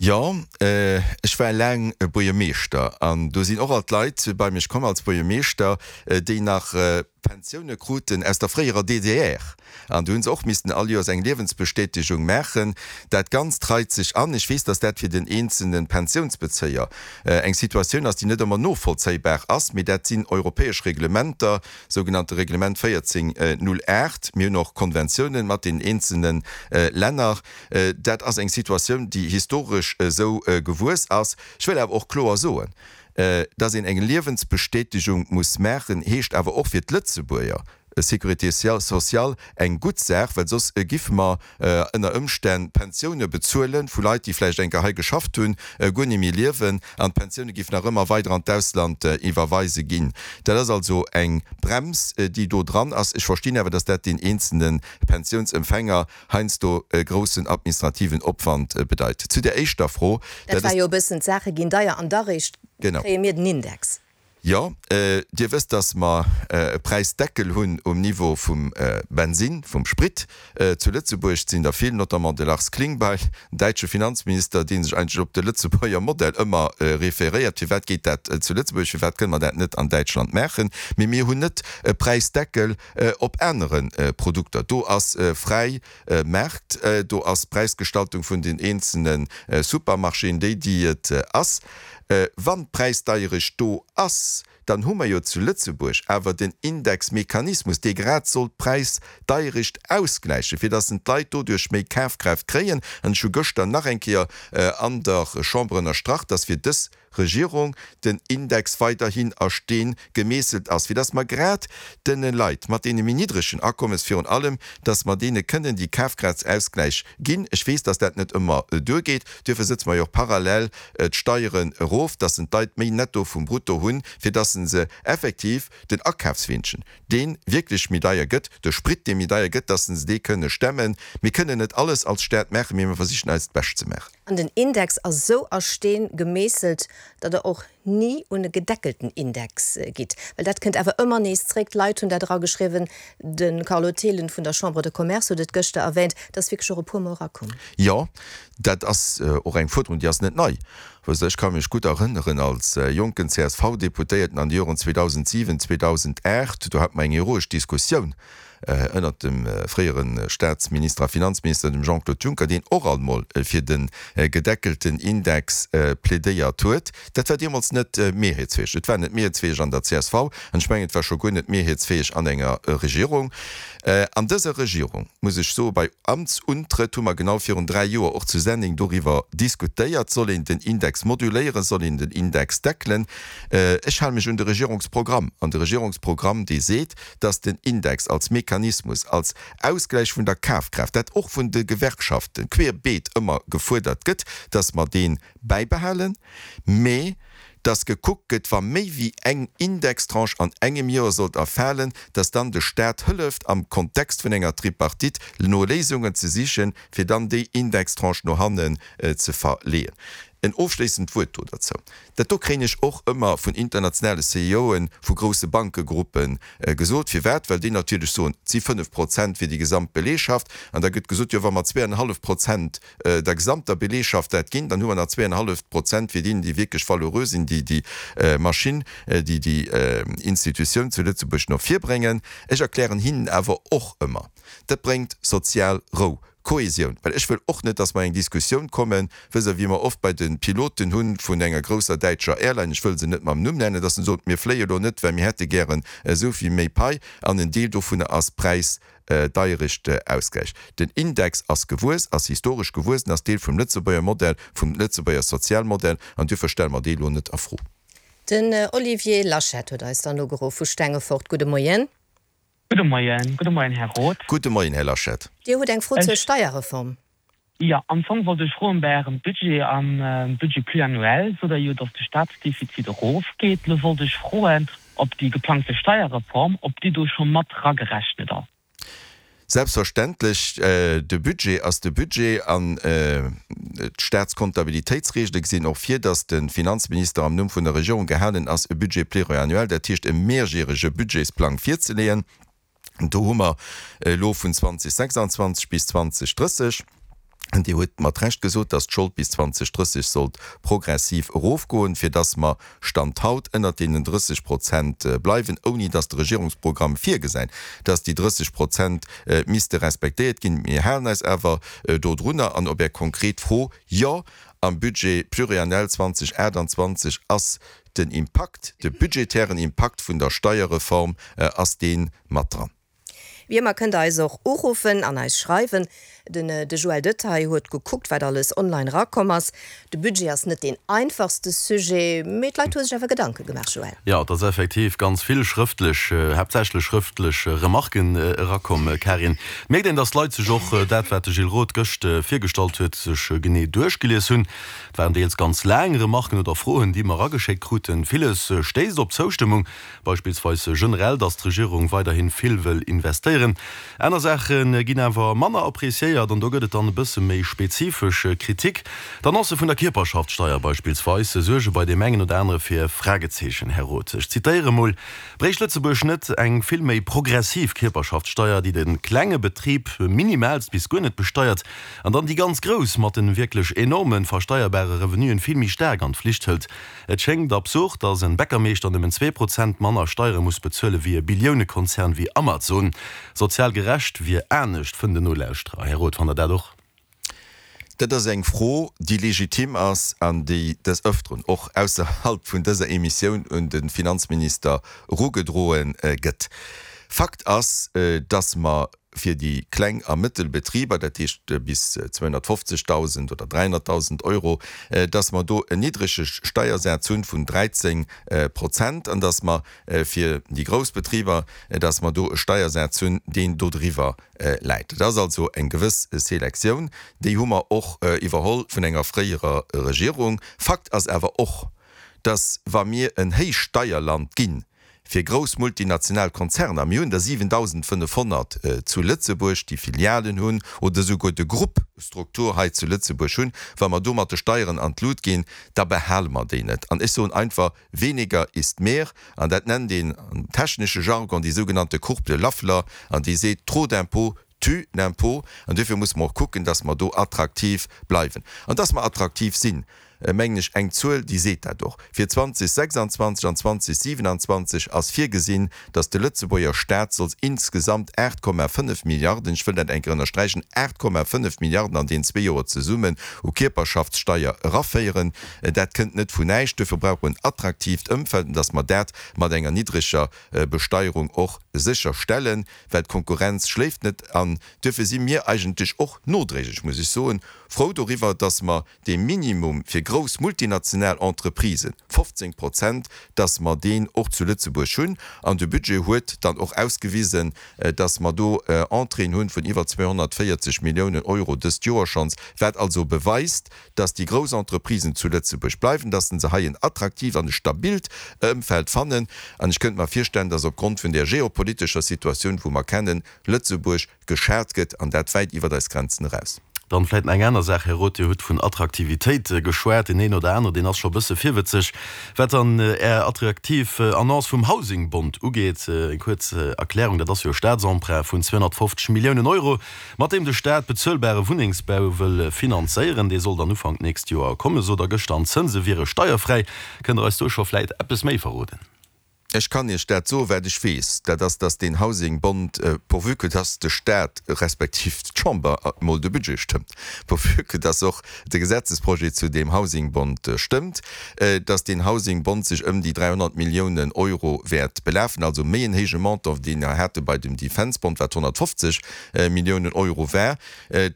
Jo, ech war laang Buergermeeschter an do sinn och alt Leit bei mech komm als Buergermeeschter, déi nach Pensioune kruten aus der fréierer DDR an do hu se och missten all Joers eng Liewensbestätegung maachen. Dat Ganzt reit sech an. Ech weess, datt dat fir den eenzelne Pensiounsbezéier eng Situatioun ass, déi net ëmmer novollzéibar ass, mee dat sinn europäesch Reglementer, sougenannte Reglement 1408. Mir hunn och Konventiounen mat den eenzelne Länner. Dat ass eng Situatioun, déi historesch esou gewuess ass. Ech wëll awer och kloer soen, dass een eng Liewensbestätegung muss maachen, heescht awer och fir d'Lëtzebuerger Sécurité sociale eng gutt Saach, well soss giffe mer ënner Ëmstänn Pensioune bezuele vu Leit, déi vläicht eng Kéier hei geschafft hunn, guer ni méi liewen, an d'Pensioune giffen nach ëmmer weider an d'Ausland iwwerweise ginn. Dat ass also eng Brems, déi do dran ass. Ech verstinn awer, dass dat deen eenzelne Pensiounsempfänger heiansdo e groussen administrativen Opwand bedeit. Zu der éischter Fro, Dat war jo e bëssen, d'Saache ginn deier an da réischt kréie mir den Index. Jo, Dir wësst, dass mer e Präisdeckel hunn um Niveau vum Bensinn, vum Sprit. Zu Lëtzebuerg sinn der vill, notamment de Lars Klingbeil, den däitsche Finanzminister, dee sech eigentlech op de Lëtzebuerger Modell ëmmer referéiert. Firwat geet dat zu Lëtzebuerg, firwat kënne mer dat net an Däitschland maachen? Mee mir hunn net e Präisdeckel op anere Produkter. Do ass fräi Maart, do ass d'Präisgestaltung vun den eenzelne Supermarchéen déi, déi et ass. Wann d'Präisdeierecht do ass, dann hu mer jo zu Lëtzebuerg awer den Indexmechanismus, dee grad soll d'Präisdeierecht ausgläichen, fir dass d'Leit doduerch méi Kafkraaft kréien. An ech hu gëschter nach eng Kéier an der Chamber ënnerstrach, dass fir dës Regierung den Index weiderhin a Steen gemeesselt ass, fir dass mer grad dene Leit mat deene méi niddregen Akommes virun allem, dass mer deene kënnen déi Kafkraftsausgläich ginn. Ech weess, dass dat net ëmmer duergeet, duerfir sëtze mer jo och parallel d'Steieren erof, dass en d'Leit méi Netto vum Brutto hunn, fir dass se se effektiv den Akafswinschen, dee wierklech méi deier gëtt, de Sprit, dee méi deier gëtt, dass se dee kënne stemmen. Mir kënnen net alles als Staat maachen, mee mir versichen eist Bescht ze maachen. An den Index ass esou a Steen gemeesselt, datt Der och ni un e gedeckelten Index gitt. Well dat kënnt awer ëmmer nees zréck. D'Leit hunn dat erageschriwwen, de Carlo Thelen vun der Chambre de Commerce huet et gëschter erwähnt, dat ass wierklech och e puermol erakomm. Jo, dat ass och eng Fuerderung, déi ass net nei. Wësst Der, ech ka mech gutt erënneren, als jonken CSV-Deputéierten an de Joren 2007, 2008, do hate mer eng heroesch Diskussioun ënnert dem fréiere Staatsminister a Finanzminister, dem Jean-Claude Juncker, deen och alt mol fir de gedeckelten Index plädéiert huet. Dat war deemools net mehrheetsfäeg. Et war net mehrheetsfäeg an der csv an ech mengen, et war scho guer net mehrheetsfäeg an enger Regierung. An dëser Regierung, muss ech soen, bei Amtsuntrëtt hu mer genau virun 3 Joer och zu Senneng doriwwer diskutéiert, soll een den Index moduléieren, soll een den Index deckelen. Ech hale mech un de Regierungsprogramm an de Regierungsprogramm, dee seet, dass den Index als Mechanismus, als Ausgläich vun der Kafkraaft, dat och vun de Gewerkschaften querbeet ëmmer gefuerdert gëtt, dass mer dee bäibehalen, mee dass gekuckt gëtt, wa méi wéi eng Indextranche an engem Joer sollt erfalen, dass dann de Stat hëlleft, am Kontext vun enger Tripartite no Léisungen ze sichen, fir dann déi Indextranche no hannen ze verleeën. En ofschléissend Wuert do derzou, Dat do kréien ech och ëmmer vun internationale CEOe vu grousse Bankegruppe gesot. Firwat? Well déi natierlech soen, et si 5 Prozent fir déi gesamt Beleegschaft. An da gëtt gesot, jo wa mer zweeanenhallef Prozent der gesamter Beleegschaft dat ginn, dann hu mer nach zweeanenhallef Prozent fir déi, déi wierklech valeureux sinn, déi déi Maschinn, déi déi Institutioun zu Lëtzebuerg no vir bréngen. Ech erklären hinnen awer och ëmmer, dat bréngt sozial Rou, Kohesioun, well ech wëll och net, dass mer eng Diskussioun kommen, wësst Der, wéi mer oft bei de Piloten hu vun enger grousser däitscher Airline, ech wëll se net mam Numm nennen, dass se soen, mir fléie lo net, well mir hätte gären esou vill méi Pai, an en Deel dovunner ass Präisdeierecht Ausgläich. Den Index ass gewuess, ass historesch gewuess, en ass Deel vum Lëtzebuerger Modell, vum Lëtzebuerger Sozialmodell, an duerfir stelle mer dee lo net a Fro. Den Olivier Laschet huet eis dann ugeruff vu Stengefort. Gudde Moien. Gudde Moien. Gudde Moien, Här Roth. Gudde Moien, Här Laschet. Dir hutt eng Fro zur Steierreform. Jo, am Fong wollt ech froen, bei Ärem Budget, am Budget pluriannuel sot Der jo, datt de Staatsdefizit erofgeet. Elo wollt ech froen, ob déi geplangte Steierreform, ob déi do scho mat eragerechnet ass. Selbstverständlech, de Budget ass de Budget an d'Staatskontabilitéitsregele gesinn och vir, datt de Finanzminister am Numm vun der Regierung gehalen ass, e Budget pluriannuel, dat heescht e mehrjährege Budgetsplang virzeleeën. Do hu mer elo vun 2026 bis 2030. An Dir hutt mat Recht gesot, dass d'Schold bis 2030 sollt progressiv erofgoen, fir dass mer Stand haut ënnert deenen 30 Prozent bleiwen, ouni dass de Regierungsprogramm virgesäit, dass déi 30 Prozent misste respektéiert ginn. Mir halen eis awer dodrunner. An op Är konkret Fro, Jo, am Budget pluriannel 2028 ass den Impakt, de budgetären Impakt vun der Steierreform ass dee mat dran. Wéi ëmmer kënnt der eis och uruffen an eis schreiwen. Den de Joël Detaille huet gekuckt wat alles online erakomm ass. De Budget ass net deen einfachste Sujet, mee d'Leit hu sech awer Gedanke gemaach, Joël. Jo, et ass effektiv ganz vill schrëftlech, haaptsächlech schrëftlech Remarken erakomm, Karin. Et mierkt een, datt d'Leit sech och dat, wat de Gilles Roth gëscht virgestallt huet, sech genee duerchgelies hunn. Et waren deels ganz laang Remarken oder Froen, déi mer erageschéckt kruten. Villes stéisst op Zoustëmmung. Beispillsweis generell, datt d'Regierung weiderhi vill wëll investéieren. Aner Saache ginn awer manner appreciéiert an do gëtt et dann e bësse méi spezifesch Kritik. D'Annonce vun der Kierperschaftssteier beispillsweis suerge bei deem engen oder anere fir Fragezeechen. Här Roth, ech zitéiere mol, Bréicht Lëtzebuerg net eng vill méi progressiv Kierperschaftssteier, déi de klenge Betrib minimaalst bis guer net besteiert an dann déi ganz grouss mat de wierklech enorme versteierbare Revenuen vill méi staark an d'Flicht hëlt? Et schéngt absurd, dass en Bäckermeeschter nëmmen 2% manner Steiere muss bezuele wéi e Billiounekonzern wéi Amazon. Sozial gerecht wier anescht, fënnt en Nolauschterer. Här Roth, fannt Der dat och? Dat ass eng Fro, déi legitim ass an déi des Ëfteren, och ausserhalb vun dëser Emissioun, un de Finanzminister erugedroe gëtt. Fakt ass, dass mer fir déi kleng a mëttel Betriber, dat heescht bis 250.000 oder 300.000 Euro, dass mer do en niddrege Steiersaz hunn vun 13 Prozent an dass mer fir déi grouss Betriber, dass mer do e Steiersaz hunn, deen dodriwwer läit. Dat ass also eng gewëss Selektioun, déi hu mer och iwwerholl vun enger fréierer Regierung. Fakt ass awer och, dass wa mir en Héichsteierland ginn, fir grouss multinational Konzerner, mir hunn der 7.500 zu Lëtzebuerg, déi Filialen hunn oder esouguer de Grupp-Struktur hei zu Lëtzebuerg hunn, wa mer do mat de Steieren an d'Lut ginn, da behale mer déi net. An ech soen einfach, weniger ist mehr. An dat nennt een am technesche Jargon déi sougenannte Courbe de Laffer, an déi seet, trop d'impôts tue l'impôt. An duerfir musse mer och kucken, dass mer do attraktiv bleiwen. An dass mer attraktiv sinn, mengen ech, eng Zuel, déi seet dat och. Fir 2026 an 2027 ass virgesinn, dass de Lëtzebuerger Stat soll insgesamt 8,5 Milliarden, ech wëll dat eng Kéier ënnersträichen, 8,5 Milliarden an deenen zwee Joer zesummen u Kierperschaftssteier eraféieren. Dat kënnt net vun näischt. Duerfir brauche mer en attraktiivt Ëmfeld, an dass mer dat mat enger niddreger Besteierung och sécherstellen. well d'Konkurrenz schléift net an duerfir si mir eigentlech och nodréiglech, muss ech soen, frou doriwwer, dass mer dee Minimum fir grouss multinational Entreprisen, 15 Prozent, dass mer deen och zu Lëtzebuerg hunn. An de Budget huet dann och ausgewisen, dass mer do Entréeën hunn vun iwwer 240 Milliounen Euro dëst Joer schonns, wat also beweist, dass déi grouss Entreprisen zu Lëtzebuerg bleiwen, dass se hei en attraktiivt an e stabilt Ëmfeld fannen. An ech kënnt mer virstellen, dass opgrond vun där geopolitescher Situatioun, wou mer kennen, Lëtzebuerg geschat gëtt, an dat wäit iwwert eis Grenzen eraus. Dann vläit nach eng aner Saach, Här Roth, Dir hutt vun Attraktivitéit geschwat. Deen een oder anere, deen ass scho e bësse virwëtzeg, wat dann Är attraktiv Annonce vum Housing Bond ugeet. Eng kuerz Erklärung, Dat ass jo e Statsemprunt vun 250 Milliounen Euro, mat deem de Staat bezuelbare Wunnengsbau wëll finanzéieren. Dee soll dann Ufank d'nächst Joer kommen, sot Der gëschter, an d'Zënse wiere steierfräi. Kënnt Der eis do scho vläit eppes méi verroden? Ech kann Iech dat soen, wat ech weess, dat ass, dass deen Housing Bond, pourvu que dass de Staat respektiv d'Chamber emol de Budget stëmmt, pourvu que dass och de Gesetzesprojet zu deem Housing Bond stëmmt, dass deen Housing Bond sech ëm déi 300 Milliounen Euro wäert belafen, also méi en héije Montant, wéi dee mer hate bei dem Defence Bond, wat 150 Milliounen Euro war,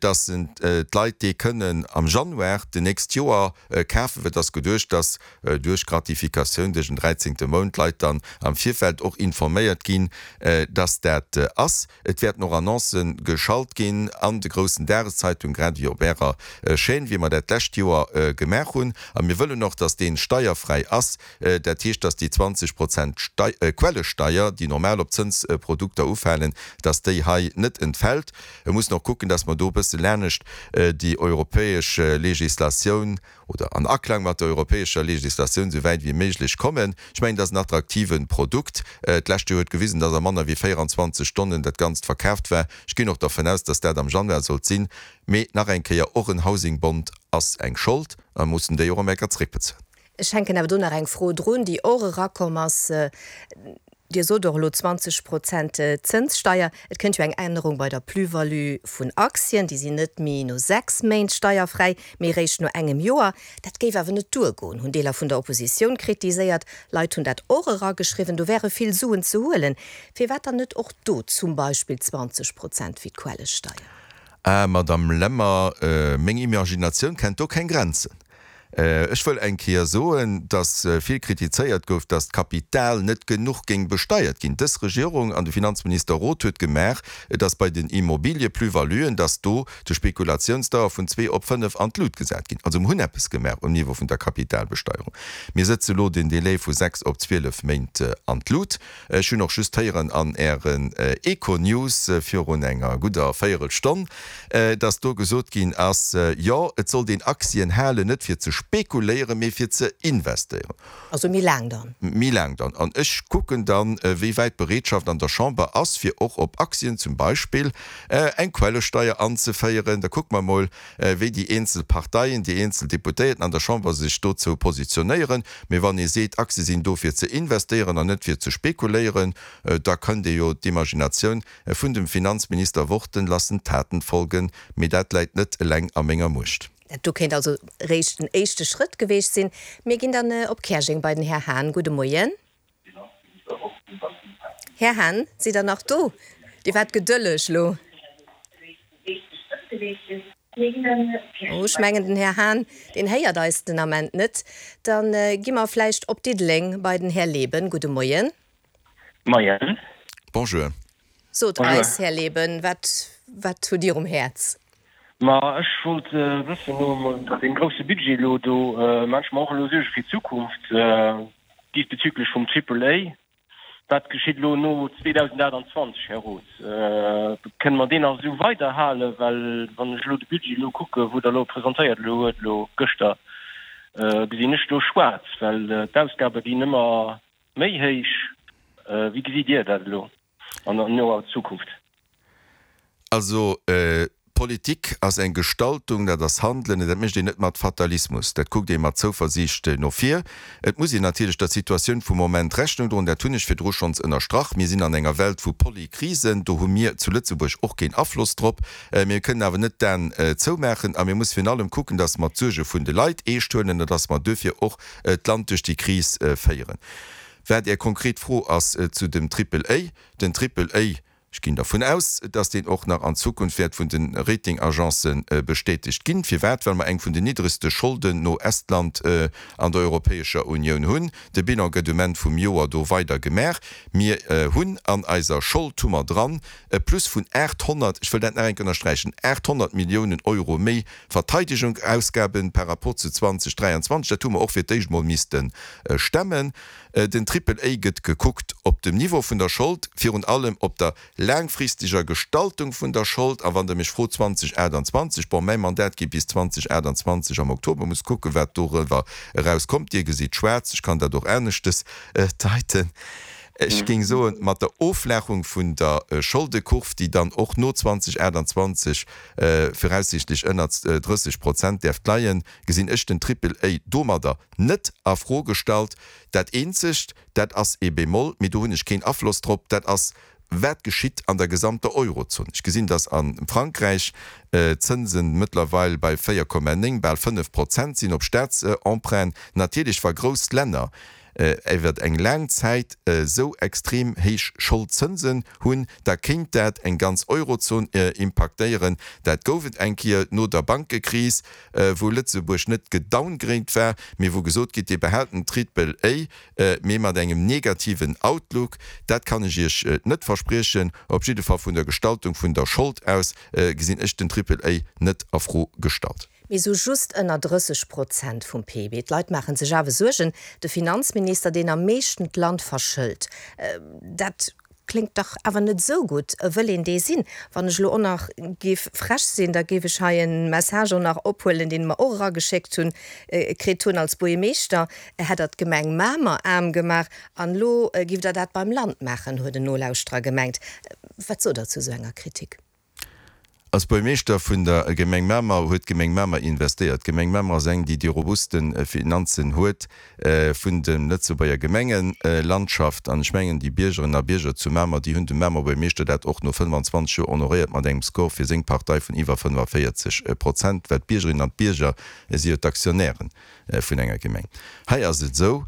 dass d'Leit dee kënnen am Januar d'nächst Joer kafen. Et ass geduecht, dass duerch Gratifikatioun duerch en dräizéngte Mount d'Leit dann am Virfeld och informéiert ginn, dass dat ass. Et wäerten och Annoncë geschalt ginn an de groussen Dageszeitung, grad ewéi op Ärer Chaîne, wéi mer dat d'lescht Joer gemaach hunn. A mir wëllen och, dass dee steierfräi ass. Dat heescht, dass déi 20 Prozent Quellesteier, déi normal op Zënsprodukter ufalen, dass déi hei net entfält. Mir mussen och kucken, dass mer do e bësse lanescht déi europäesch Législatioun oder an Aklang mat der europäescher Législatioun esou wäit wéi méiglech kommen. Ech mengen, dat ass en attraktive. attraktive Produkt. D'lescht Joer huet gewisen, dass a manner wéi 24 Stonnen dat Ganzt verkaaft war. Ech ginn och dervun aus, dass dat am Januar sollt sinn. Mee nach eng Kéier, och en Housing Bond ass eng Schold a mussen déi och am Ecker zréckbezuelen. Ech hänken awer do nach eng Fro drun, déi och erakomm ass. Dir sot och elo 20 Prozent Zënssteier. Et kënnt jo eng Ännerung bei der Plus-value vun Aktien. Déi sinn net méi no 6 Méint steierfräi, mee eréischt no engem Joer. Dat géif awer net duergoen, hunn Deeler vun der Oppositioun kritiséiert. Leit hunn dat och erageschriwwen, do wäre vill Suen ze huelen. Firwat dann net och do zum Beispill 20 Prozent wéi d'Quellesteier? Ah, Madame Lemmer, meng Imaginatioun kennt do keng Grenzen. Ech wëll eng Kéier soen, dass vill kritizéiert gouf, dass d'Kapital net genuch géing besteiert ginn. Dës Regierung an de Finanzminister Roth huet gemaach, dass bei den Immobilie-Plus-valuen, dass do de Spekulationsdauer vun zwee op fënnef an d'Lut gesat ginn. Also mir hunn eppes gemaach um Niveau vun der Kapitalbesteierung. Mir sëtze lo den Délai vu sechs op 12 Méint an d'Lut. Ech hunn och just héieren an Ären Econews virun enger gudder Véierelstonn, dass do gesot ginn ass, jo, et sollt een Aktien halen, net fir ze spekuléieren, mee fir ze investéieren. Also méi laang dann. Méi laang dann. An ech kucken dann, wéi wäit d'Bereetschaft an der Chamber ass, fir och op Aktien zum Beispill eng Quellesteier anzeféieren. Da kucke mer emol, wéi déi eenzel Parteien, déi eenzel Deputéierten an der Chamber sech dozou positionéieren. Mee wann ee seet, Aktie sinn do fir ze investéieren an net fir ze spekuléieren, da kënnt ee jo d'Imaginatioun vun dem Finanzminister Worten lassen Taten folgen. Mee dat läit net eleng a menger Muecht. Dat do kéint also réischt en éischte Schrëtt geweecht sinn. Mir ginn dann op Käerjeng bei den Här Hahn. Gudde Moien. Här Hahn, sidd Der nach do? Dir waart gedëlleg elo. Oh, ech mengen, den Här Hahn, deen héiert eis den Ament net. Da gi mer vläicht op Diddeleng bei den Här Leben. Gudde Moien. Moien. Bonjour. Sot eis, Här Leben, wat, wat hutt Dir um Häerz? Ma ech wollt wëssen, nom deem grousse Budget elo do, maan ech mer och elo Suerge fir d'Zukunft diesbezüglech vum Triple A. Wat geschitt elo no 2028, Här Roth? Kënne mer deen nach esou weiderhalen? Well wann ech elo de Budget elo kucken, wou Der elo presentéiert elo huet elo gëschter, gesinn ech do schwaarz, well d'Ausgabe ginn ëmmer méi héich. Wéi gesitt Dir dat elo an noer Zukunft? Also, Politik ass eng Gestaltung, dat ass Handelen, dat mécht een net mat Fatalismus, dat kuckt ee mat Zouversiicht no vir. Et muss een natierlech der Situatioun vum Moment Rechnung droen, dat hunn ech virdru schonns ënnerstrach. Mir sinn an enger Welt vu Polykrisen, do hu mir zu Lëtzebuerg och keen Afloss drop. Mir kënnen awer net d'Aen zoumaachen a mir musse virun allem kucken, datt mer d'Suerge vun de Leit eescht huelen an datt mer duerfir och d'Land duerch déi Kris féieren. Wat Är konkret Fro ass zu dem Triple A, den Triple A, Ech ginn dervun aus, dass deen och nach an Zukunft wäert vun de Ratingagencen bestätegt ginn. Firwat? Well mer eng vun den niddregste Scholden no Estland an der Europäescher Unioun hunn. De Bilan gëtt um Enn vum Joer do weider gemaach. Mir hunn an eiser Schold hu mer dran e Plus vun 800, ech wëll dat nach eng Kéier ënnersträichen, 800 Milliounen Euro méi Verteidigungsausgaben par rapport zu 2023. Dat hu mer och fir d'éischt emol misste stemmen. Den Triple A gëtt gekuckt op dem Niveau vun der Schold, virun allem op der laangfristeger Gestaltung vun der Schold. A wann Der mech frot, 2028, bon, mäi Mandat geet bis 2028 am Oktober, muss kucken, wat doriwwer eraus kommt. Dir gesitt schwaarz, ech kann dat och aneschtes deiten. Ech géing soen, mat der Offlaachung vun der Scholdekurv, déi dann och no 2028 viraussiichtlech ënnert 30 Prozent däerft leien, gesinn ech den Triple A domadder net a Fro gestallt. Dat eenzegt, dat ass ee Bémol, mee do hunn ech keen Afloss drop, dat ass, wat geschitt an der gesamter Eurozon. Ech gesinn, datt a Frankräich d'Zënsen mëttlerweil bei 4,9, bal 5 Prozent sinn op Staatsemprunten. Natierlech, wa grouss Länner iwwer eng laang Zäit esou extrem héich Scholdzënsen hunn, da kéint dat eng ganz Eurozon impaktéieren. Dat gouf et eng Kéier no der Bankekris. wou Lëtzebuerg net gedowngrade war, mee wou gesot gitt, Dir behält den Triple A, mee mat engem negativen Outlook. Dat kann ech Iech net verspriechen. Op jidde Fall vun der Gestaltung vun der Schold aus gesinn ech den Triple A net a Fro gestallt. Mee sou just ënner 30 Prozent vum PIB. D'Leit maache sech awer Suergen. De Finanzminister, deen am meeschten d'Land verschëlt, dat. kléngt dach awer net esou gutt. Wëll een dee sinn? Wann ech elo och nach géif frech sinn, da géif ech hei e Message och nach ophuelen, deen mer och erageschéckt hunn, kritt hunn, Als Buergermeeschter hätt Der d'Gemeng Mamer aarm gemaach an elo giff Der dat beim Land maachen, huet en Nolauschterer gemengt. Wat sot Der zu esou enger Kritik? Als Buergermeeschter vun der Gemeng Mamer huet d'Gemeng Mamer investéiert. D'Gemeng Mamer ass eng, déi déi robuste Finanzen huet vun de Lëtzebuerger Gemengelandschaft. An ech mengen, déi Biergerinnen a Bierger zu Mamer, déi hunn dem Mamer Buergermeeschter dat och no 25 Joer honoréiert mat engem Score fir seng Partei vun iwwer 45 Prozent, well d'Biergerinnen an d'Bierger si jo d'Aktionäre vun enger Gemeng. Hei ass et esou,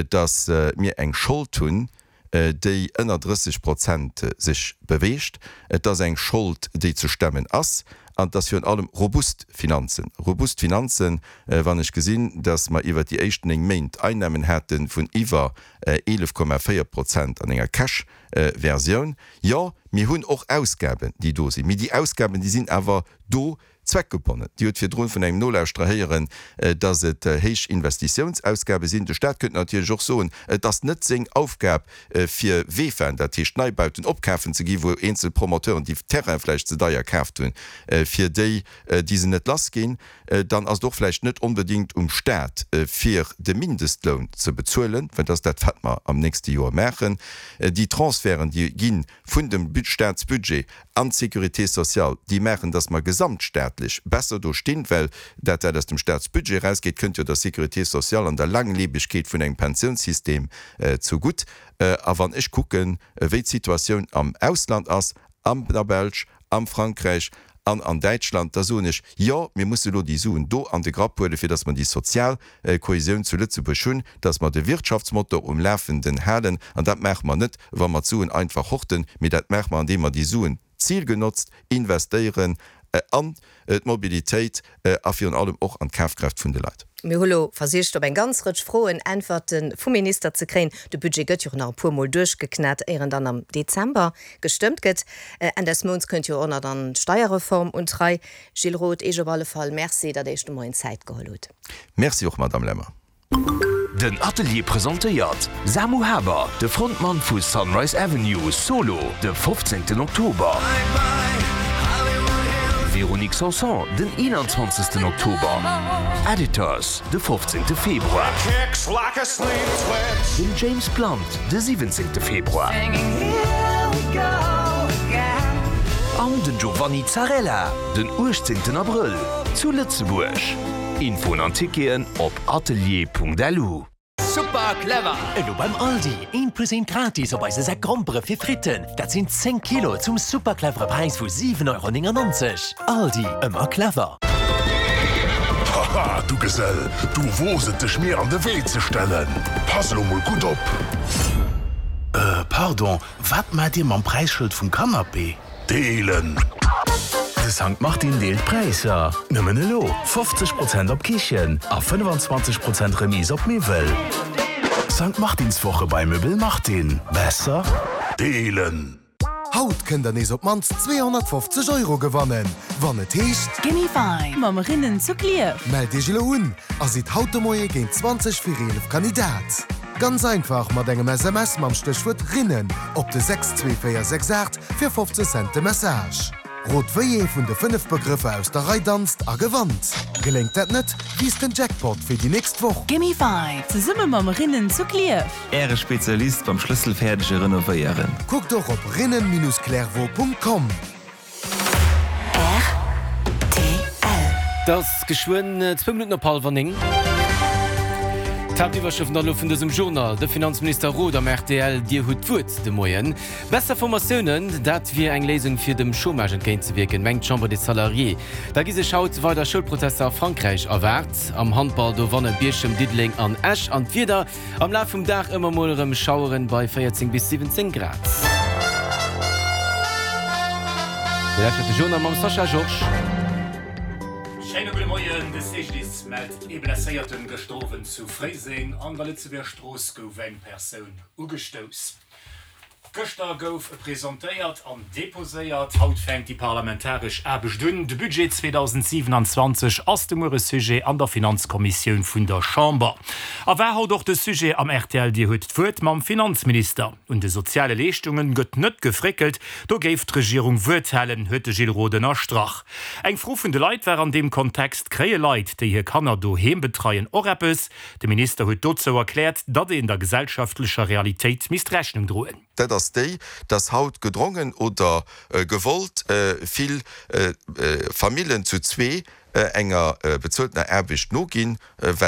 datt mir eng Schold hunn, déi ënner 30 Prozent sech beweegt. Et ass eng Schold, déi ze stemmen ass, an et ass virun allem robust Finanzen. Robust Finanzen, wann ech gesinn, datt mer iwwert déi éischt 9 Méint Einnahmen hate vun iwwer 11,4 Prozent an enger Cash-Versioun. Jo, mir hunn och Ausgaben, déi do sinn, mee déi Ausgaben, déi sinn awer do, Zweckgebonnen. Dir hutt virdrun vun engem Nolauschterer héieren, dass et héich Investitiounsausgabe sinn. De Staat könnte natierlech och soen, et ass net seng Aufgab fir VEFAen, dat heescht Neibauten, opkafen ze ginn, wou eenzel Promoteuren déi Terraine vläicht ze deier kaaft hunn, fir déi, déi se net lass ginn. Dann ass et och vläicht net onbedéngt um Staat fir de Mindestloun ze bezuelen, well dat ass dat wat mer am nächste Joer maachen. Déi Transferten, déi ginn vun dem Staatsbudget an d'Sécurité sociale, déi maachen, dass mer gesamtstaatlech besser do stinn, well dat, wat aus dem Staatsbudget erausgeet, kënnt jo der Sécurité sociale an der Langlebegkeet vun engem Pensiounssystem zugutt. A wann ech kucken, wéi d'Situatioun am Ausland ass, an der Belsch, am Frankräich an an Däitschland, da soen ech, Jo, mir musse elo déi Suen do an de Grapp huelen, fir dass mer déi sozial Kohäsioun zu Lëtzebuerg hunn, dass mer de Wirtschaftsmotor um Lafenden halen. An dat maache mer net, wa mer d'Suen einfach horten, mee dat maache mer, andeem mer déi Suen zilgenotzt investéieren an d'Mobilitéit a virun allem och an d'Kafkraaft vun de Leit. Mir hu lo versicht, op eng ganz Rëtsch Froen Äntwerte vum Minister ze kréien. De Budget gëtt jo och nach e puer Mol duerchgeknat, éier en dann am Dezember gestëmmt gëtt. Enn des Mounts kënnt jo och nach dann d'Steierreform un d'Rei. Gilles Roth, Iech op alle Fall Merci, datt Iech de Moien Zäit geholl hutt. Merci och, Madame Lemmer. Den Atelier presentéiert Samu Haber, de Frontmann vu Sunrise Avenue, solo de 15 Oktober. Véronique Sanson den 21 Oktober. Editors de 15 Februar. Den James Blunt de 17 Februar. An den Giovanni Zarrella den 18 Abrëll zu Lëtzebuerg. Infoen an Ticketen op atelier.lu. Super clever! Elo beim Aldi, eent plus eent gratis op eise Säck Grompere fir Fritten. Dat sinn 10 Kilo zum super clevere Präis vu 7,99 Euro. Aldi, ëmmer clever! Haha, du Gesell, du woos et dech mir an de Wee ze stellen. Pass elo mol gutt op. Äh, pardon, wat maacht dir mam Präisschëld vum Canapé? Deelen! De Sankt Martin deelt Präisser! Nëmmen elo 50 Prozent op Kichen a 25 Prozent Remise op Miwwel. Sankt Martinswoche bei Möbel Martin. Besser? Deelen! Haut kënnt der nees op d'mannst 250 Euro gewannen, wann et heescht. Gimme Five mam Rinnen zu Klierf. Mellt iech elo un a sidd haut de Moie géint 20 vir 11 Kandidat. Ganz einfach mat engem SMS mam Stéchwuert Rinnen op de 62468 fir 15 Cent de Message. Rot wéi ee vun de 5 Begrëffer aus der Rei danzt a gewannt. Geléngt dat net, wiisst den Jackpot fir déi nächst Woch. Gimme Five zesumme mam Rinnen zu Klierf. Äre Spezialist beim schlësselfäerdege Renovéieren. Kuckt och op rinnen-clervaux.com. Rtl. Et ass geschwënn zwou Minutten op hallwer 9. D'Haaptiwwerschrëften dann elo vun dësem Journal, De Finanzminister Roth am rtl, Dir hutt d'Wuert de Moien. Besser Formatiounen, dat wier eng Léisung fir dem Chômage entgéintzewierken, mengt d'Chambre des Salariés. Da gi sech haut weider Schoulprotester a Frankräich erwaart. Am Handball do wanne Bierchem, Diddeleng an Esch. An d'Wieder, Am Laf vum Dag ëmmer mol erëm Schaueren bei 14 bis 17 Grad. Dir lauschtert de Journal mam Sascha Georges. Schéine gudde Moien, De CGDIS mellt ee Blesséierten. Gëschter Owend zu Fréiseng an der Lëtzebuerger Strooss gouf eng Persoun ugestouss. Gëschter gouf e presentéiert an deposéiert. Haut fänkt déi parlamentaresch Aarbecht un. De Budget 2027 ass de Muere Sujet an der Finanzkommissioun vun der Chamber. A war haut och de Sujet am rtl Dir huet d'Wuert mam Finanzminister. Un de soziale Leeschtunge gëtt net gefréckelt, do géif d'Regierung Wuert halen, huet de Gilles Roth ënnerstrach. Eng Fro vun de Leit war an deem Kontext, Kréie Leit, déi hir Kanner doheem betreien, och eppes? De Minister huet dozou erkläert, datt een der gesellschaftlecher Realitéit misst Rechnung droen. Dat ass déi, datt haut gedrongen oder gewollt vill Famillen zu zwee enger bezueltener Aarbecht noginn, well.